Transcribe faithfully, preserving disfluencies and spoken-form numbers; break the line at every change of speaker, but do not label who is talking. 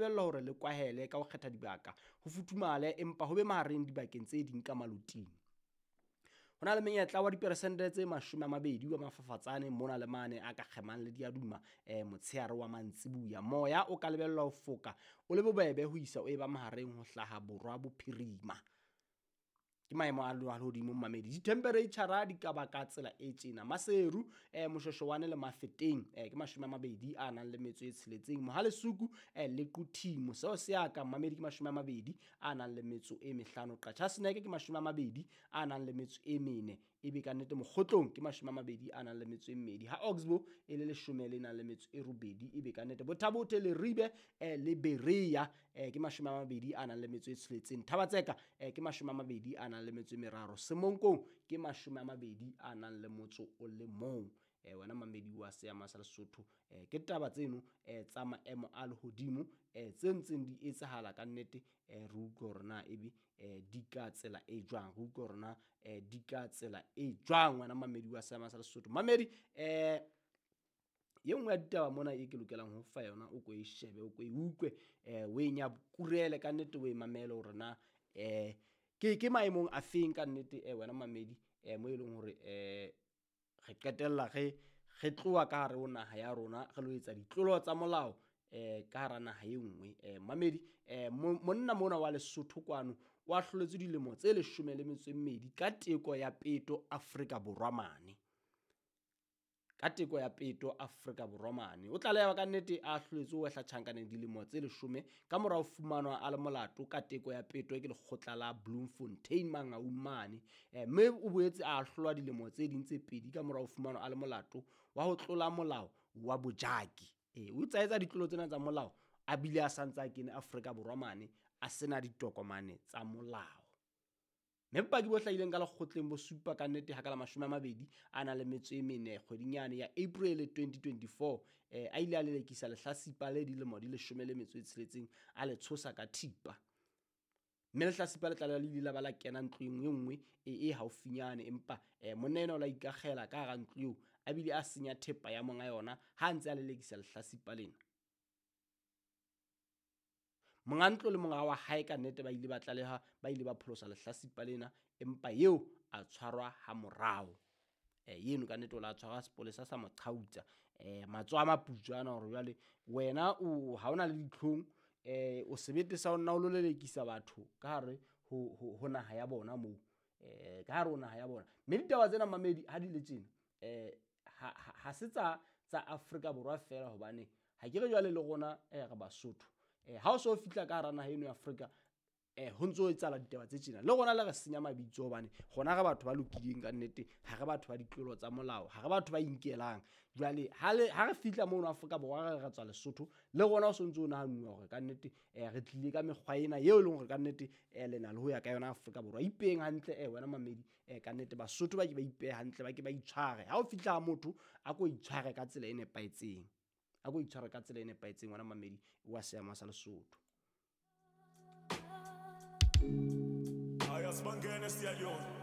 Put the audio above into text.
lebellwa hore le kwahele ka ho kgetha dibaka, ho futhumale empa ho be mahareng dibakeng tse ding ka maloting. Ho na le menyetla wa diperesente tse mashome a mabedi wa mafafatsane mona le mane a ka kgemang le diaduma eh, motsheare wa mantsibuya. Moya o ka lebellwa ho foka o le bobebe ho isa o eba mahareng ho hlaha borwa bophirima. Ke maemo a lehodimo mmamedi. Dithempereitjhara di ka ba ka tsela e tjena. Maseru eh, Moshoeshoane le Mafeteng eh, ke mashome a mabedi a nang le metso e tsheletseng. Mohalesuku eh, le Quthing seo se ya ka mmamedi ke mashome a mabedi a nang le metso e mehlano. Qachaseneke ke mashome a mabedi a nang le metso e mene. Ebe ka nnete Mokgotlong ke mashome a mabedi a nang le metso e mmedi. Ha Oxbow e le leshome le nang le metso e robedi. Ebe ka nnete Botha-Bothe, Leribe eh, le Berea eh, ke mashome a mabedi a nang le metso e tsheletseng. Thaba-Tseka eh, ke mashome a mabedi a nang le metso e meraro. Semonkong ke mashome a mabedi a nang le motso o le mong. Eh, wena mamedi wa seama sa Lesotho eh, ke taba tseno eh, tsa maemo a lehodimo eh, tse ntseng di etsahala ka nnete eh, re utlwe hore na ebe eh, di ka tsela e jwang, re utlwe hore na eh, di ka tsela e jwang wena mamedi wa seama sa Lesotho. Mamedi eh, ye nngwe ya ditaba mona e ke lokelang ho fa yona, o ko e shebe, o ko e utlwe eh, o e nyakurele ka nnete, o e mamele hore na eh, ke ke maemong a feng ka nnete eh, wena mamedi eh, mo e leng hore eh, re qetella re re tloha ka hare ho naha ya rona re lo etsa ditlolo tsa molao eh, ka hara naha e nngwe. Eh, mamedi eh, monna mona wa Lesotho kwano o ahloletswe dilemo tse leshome le metso e mmedi ka teko ya peto Afrika Borwa mane. Ka teko ya peto Afrika Borwa mane. O tlaleha ka nnete a ahloletswe ho wehla tjhankaneng dilemo tse leshome ka mora ho fumanwa a le molato ka teko ya peto ke lekgotla la Bloemfontein Mangaung mane. Eh, mme o boetse a ahlolwa dilemo tse ding tse pedi ka mora ho fumanwa a le molato wa ho tlola molao wa bojaki. Eh, o tsa etsa ditlolo tsena tsa molao a bile a santse a kene Afrika Borwa mane a sena ditokomane tsa molao. Mme bopaki bo hlahileng ka lekgotleng bo supa ka nnete ha ka la mashome a mabedi a nang le metso e mene kgweding yane ya April twenty twenty-four eh, a ile a lelekisa lehlasipa le dilemo di leshome le metso e tsheletseng a le tshosa ka thipa. Mme lehlasipa le tlaleha le ile la ba la kena ntlong e nngwe e, e haufinyane, empa eh, monna enwa o la ikakgela ka hara ntlo eo a bile a senya thepa ya monga yona ha a ntse a lelekisa lehlasipa lena. Monga ntlo le monga wa hae ka nnete ba ile ba tlaleha, ba ile ba pholosa lehlasipa lena, empa eo a tshwarwa ha morao. Eh, eno ka nnete o la tshwarwa sepolesa sa mo qhautsa. Eh, matsoho a maputswa ana hore jwale wena o ha ona le ditlhong, eh, o sebete sa ho nna o lo lelekisa batho ka hare ho, ho, ho naha ya bona moo. Eh, ka hare ho naha ya bona. Mme ditaba tsena mamedi ha di le tjena, eh, ha, ha, ha se tsa, tsa Afrika Borwa fela, hobane ha ke re jwale le rona, eh, re Basotho. Eh, ha o so fihla ka hara naha eno ya Afrika, eh, ho ntso etsahala ditaba tse tjena. Le rona le re senya mabitso hobane rona re batho ba lokileng ka nnete, ha re batho ba ditlolo tsa molao, ha re batho ba inkelang. Jwale ha le, ha re fihla mono Afrika Borwa re re tswa Lesotho, le rona o sontso o nahanuwa hore ka nnete, eh, re tlile ka mekgwa ena eo e leng hore ka nnete, eh, le na le ho ya ka yona Afrika Borwa. Ipeheng hantle, eh, wena mamedi, eh, ka nnete Basotho ba ke ba ipehe hantle, ba ke ba itshware. Ha o fihla ha motho, a ko itshware ka tsela e nepahetseng. A ko itshware ka tsela e nepahetseng wena mamedi wa seama sa Lesotho.
Ayasibangene siyayona.